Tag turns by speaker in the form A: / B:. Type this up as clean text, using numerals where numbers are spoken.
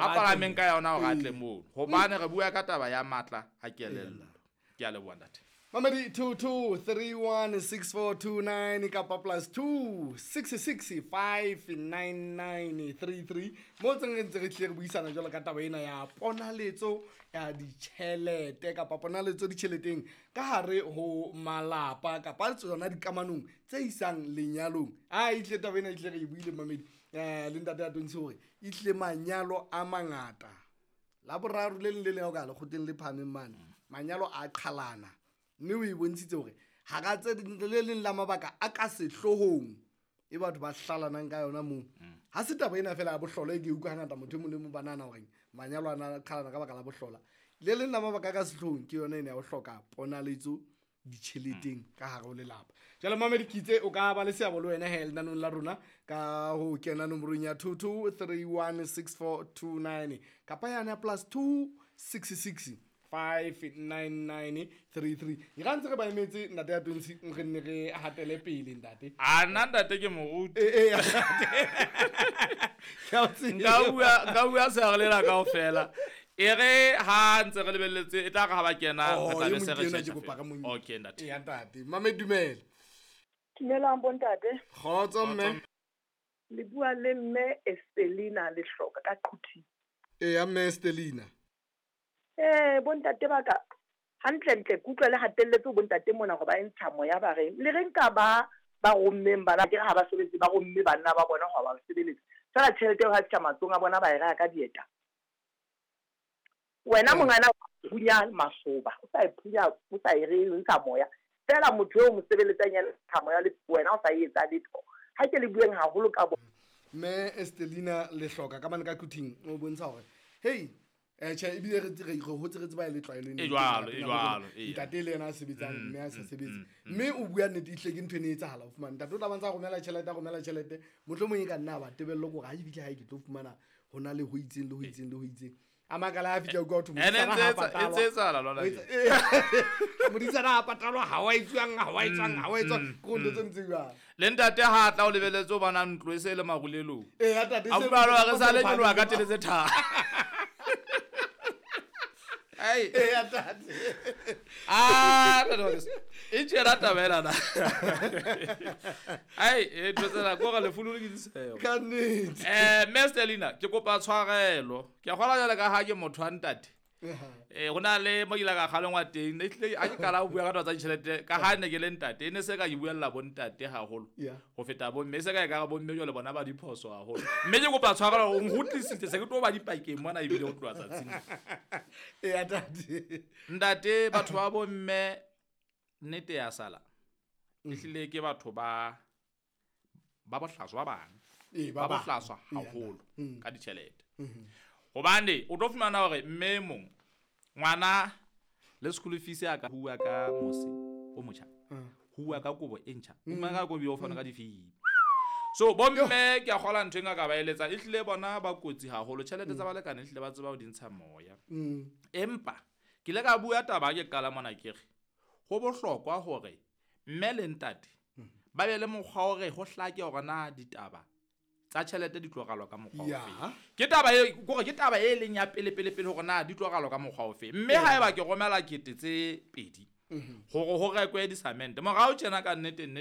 A: A palameng ka yona hore a tle mono. Hobane re bua ka taba ya matla a kelello. Ke a leboha, ntate.
B: Mamedi, 22316429 kapa +2 6659933 mo tseng re ntse re tlile re buisana jwalo ka taba ena ya ponaletso ya ditjhelete kapa ponaletso ditjheleteng ka hare ho malapa kapa tsona dikamanong tse isang lenyalong. A ehlile taba ena ehlile re e buile, mamedi, le ntate ya tontshe hore ehlile manyalo a mangata la boraro le leng le leng ha o ka lekgotleng le phahameng mane, manyalo a qhalana, mme o e bontshitse hore hara tse le leng la mabaka a ka sehloohong e batho ba hlalanang ka yona moo, ha se taba ena fela ya bohlola e ke utlwa hangata motho e mong le mong ba nahana hore manyalo ana a qhalana ka baka la bohlola. Le leng la mabaka a ka sehloohong ke yona ena ya ho hloka ponaletso ditjheleteng ka hare ho lelapa. Jwale mamedi, ke itse o ka ba le seabo le wena he lenanong la rona ka ho kena nomorong ya 22316429 kapa yane ya +2 6659933. E ra ntse re ba emetse, ntate ya tontshe, re nne re hatele pele, ntate.
A: A nna, ntate, ke moruti.
B: Ee, ke a o tseba.
A: Nka bua sehare lena kaofela. E re ha ntse re lebelletse, e tla re ha ba kena re
B: Oh,
A: tla
B: e
A: be se
B: mong
A: re
B: ke enwa
A: tjhetjha
B: ke kopa
A: fela.
B: re mo
A: Okay, ntate.
B: Ya ntate, mamedi, dumela.
C: Dumelang, bontate.
B: Kgotso, mme.
C: Le bua le mme Estelina Lehloka ka Quthing.
B: Eya, mme Estelina.
C: Bontate ba ka, hantlentle ke utlwa le hatelletse ho bontate mona hore ba e ntsha moya, ba reng le re nka ba rommeng bana ke re ha ba sebetse, ba romme banna ba bona hore ba sebeletsa fela tjhelete eo ha fihla matsohong a bona ba e reka ka dieta. Wena mongana phunya masoba, o sa e phunya, o sa e re ntsha moya fela, motho eo mo sebeletsang yena ntsha moya le wena o sa e etsa letho. Ha ke le bueng haholo ka bo
B: Mme Estelina Lehloka ka mane ka Quthing o bontsha hore hei, tjhe, ebile re re hotse re tseba e le tlwaelo ena
A: E
B: e
A: jwalo,
B: teng
A: e
B: lapeng la rona.
A: jwalo, eya.
B: Ntate le yena a sebetsang, mme a sa sebetse, mme o bua nnete, ehlile ke ntho e ne e etsahala. O fumana ntate o tla ba ntse a romela tjhelete, a romela tjhelete, mohlomong e ka nna ba tebello ke hore ha e fihle hae ke tlo fumana ho na le ho itseng le ho itseng le ho itseng. A makala ha fihla, utlwa ho thwe
A: Ene
B: modisana
A: ntse
B: ha
A: ntse
B: patalwa.
A: etsahala lona
B: O
A: tje.
B: Modisana ha patalwa, ha wa etsuwang, ha wa etswang, ha wa etswang, ke ho ntho tse ntseng jwalo.
A: Le ntate ha tla o lebeletse o bona ntlo e se e le marulelong.
B: Ee, ya tate,
A: A
B: se
A: utlwa re sa le
B: se
A: nyoloha ka tele tse tharo. Ai.
B: Ee, ya tate.
A: Ah, ntate wa keso. E tjena taba ena na. Ai, e ntho tsena ko re lefu le ke diseho.
B: Ka nnete.
A: Mme Stelina, ke kopa tshwarelo. Ke a kgolwa jwale ka ha ke motho wa ntate. Ho na le mo ke ile ka kgalengwa teng. Ne ehlile ha ke qala ho bua ka taba tsa ditjhelete, ka ha ne ke le ntate, e ne se ka ke buella bo ntate haholo ho feta bo mme. E se ka ekare bo mme jwale bona ba diphoso haholo. Mme ke kopa tshwarelo, o nkgutlisitse, se ke tlo ba dipakeng mona ebile ho tloha tsatsing lena.
B: Ee, ya tate.
A: Ntate, batho ba bo mme nnete ya sala. Ehlile ke batho ba bohlaswa ba bang.
B: Ee,
A: Ba
B: ba bang.
A: bohlaswa
B: Ee, ya
A: haholo
B: ntate.
A: ka ditjhelete. Hobane o tlo fumana hore mme e mong ngwana le school fees ya ka huwa ka mose o motjha. Huwa ka kobo e ntjha. Huwa ka kobo e fana ka difii. So bo mme ke a kgola ntho e nka ka ba eletsa, ehlile bona ba kotsi haholo. Tjhelete tsa balekane ehlile ba tseba ho di ntsha moya. Empa ke ile ka bua taba ha ke qala mona, ke re ho bohlokwa hore mme le ntate ba be le mokgwa hore ho hlake hore na ditaba tsa tjhelete di tlo ralwa ka mokgwa ofe. Ke taba e kore ke taba e leng ya pele pele pele hore na di tlo ralwa ka mokgwa ofe. Mme haeba ke romela 2000 hore ho rekwe disamente morao tjena, ka nnete nnete.